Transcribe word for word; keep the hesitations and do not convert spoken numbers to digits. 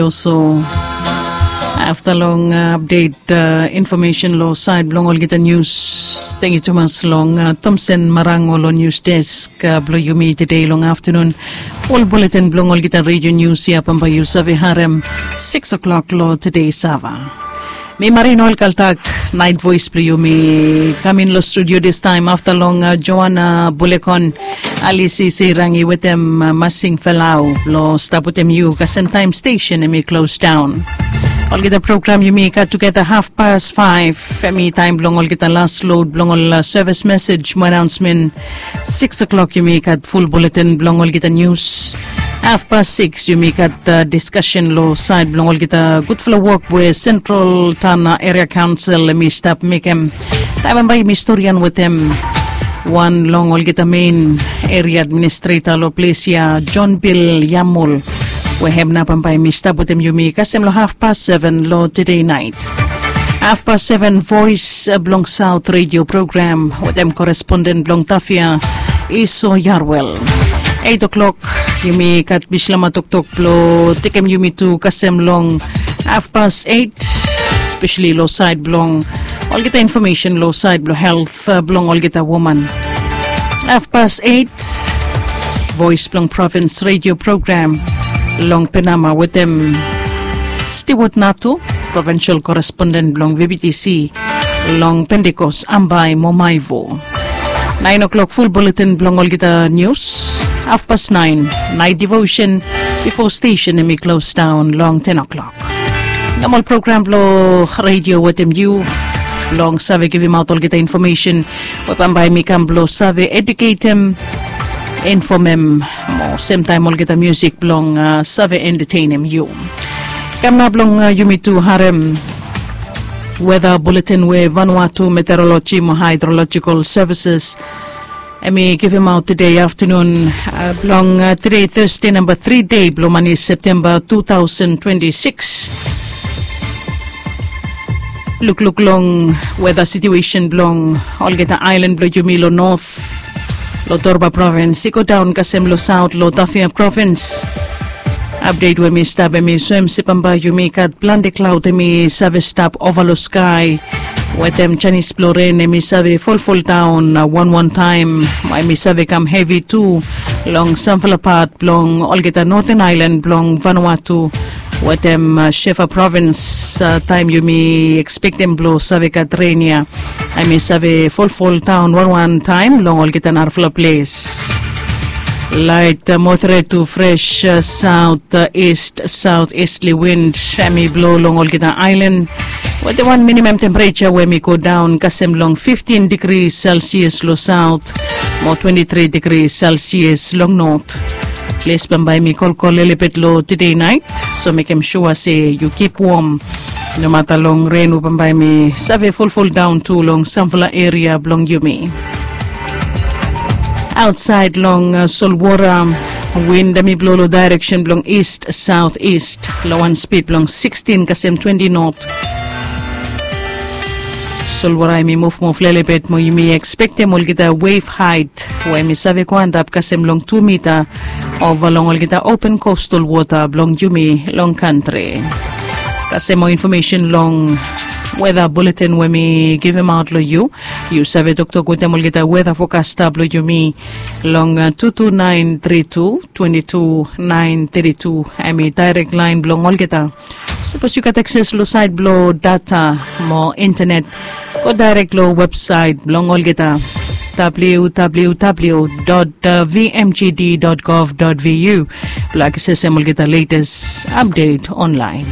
Also, afta long apdet infomesen long sait blong olgeta nius, tengiu tumas long Tomsen Marango long nius desk blong yumi tede long aftanun. Ful buletin blong olgeta redio nius ya bambae yu save harem sikis o'klok long tede sava. Mi Marino Alkaltak, nait voes blong yumi kamin long studio distaem afta long Joana Bulekon, Alisi Seirangi wetem Masing Felau blong stap wetem yu kasem taem stesen hemi klos daon. Olgeta program yumi gat tugeta hafpas faef, hemi taem blong olgeta las lod blong ol sevis mesej mo anaonsmen. Sikis o'klok yumi gat ful buletin blong olgeta nius. Hafpas sikis yumi gat diskasen long sait blong olgeta gudfala wok we Sentral Tana Eria Kaonsel hemi stap mekem. Taem bambae yumi storian wetem wan long olgeta mein eria administreta long ples ya, Jon Bil Yamul, we hem nao bambae hemi stap wetem yumi kasem long hafpas seven long tede nait. Hafpas seven, Voes blong Saot redio program wetem koresponden blong Tafia, Iso Yarwel. Eit o'klok yumi gat bishlama toktok blong tekem yumi tu kasem long hafpas eit, spesali long sait blong olgeta infomesen long sait blong helt blong olgeta woman. Hafpas eit, Voes blong Provins redio program long Penama wetem Stewart Natu, provinsel koresponden blong V B T C long Pentekos, Ambae mo Maivo. Naen o'klok ful buletin blong olgeta nius. Hafpas naen, nait devosen bifo stesen hemi klos daon long ten o'klok. Nomal program blong redio wetem yu blong save givimaot olgeta infomesen we bambae hemi kam blong save eduketem, infomem, mo semtaem olgeta musik blong save entetenem yu. Kam nao blong yumi tu harem weta buletin we Vanuatu Meteoroloji mo Haedrolojikal Sevises hemi givimaot tede aftanun blong tede Teste namba tri dei blong mani Septemba tu taosen twenti sikis. Lukluk long weta situesen blong olgeta aelan blong yumi long not, long Torba provins i godaon kasem long saot long Tafea provins. Apdet we mi stap hemi soem se bambae yumi gat plante klaod hemi save stap ova long skae wetem janis blong ren hemi save folfoldaon wanwan taem, mo hemi save kam hevi tu long samfala pat blong olgeta noten aelan blong Vanuatu wetem Shefa provins. Taem yumi ekspektem blong save gat ren ya, hemi save folfoldaon wanwan taem long olgeta narafala ples. Laet moderet tu fres saot ist saot istli wind hemi blo long olgeta aelan wetem wan minimam tempereja we hemi godaon kasem long fiftin digri selsias long saot mo twenti tri digri selsias long not. Ples bambae hemi kolkol lelebet long tede naet, so mekem sua se yu kip wom nomata long ren we bambae hemi save folfoldaon tu long samfala eria blong yumi. Aotsaed long solwota, win hemi blo long daereksen blong ist saot ist long wan spid blong sikstin kasem twenti not. Solwota hemi muvmuv lelebet mo yumi ekspektem olgeta wef haet we hemi save go antap kasem long tu mita ova long olgeta open kostal wota blong yumi long kantri. Kasem moa infomesen long weta buletin we mi givimaot long yu, yu save toktok wetem olgeta weta fokasta blong yumi long tu tu naen tri tu twenti tu naen tri tu. Hemi daerek laen blong olgeta. Sapos yu gat akses long saet blong data mo intenet, go daerek long websaet blong olgeta, www dot vmgd dot gov dot vu, blong aksesem olgeta letes apdet onlaen.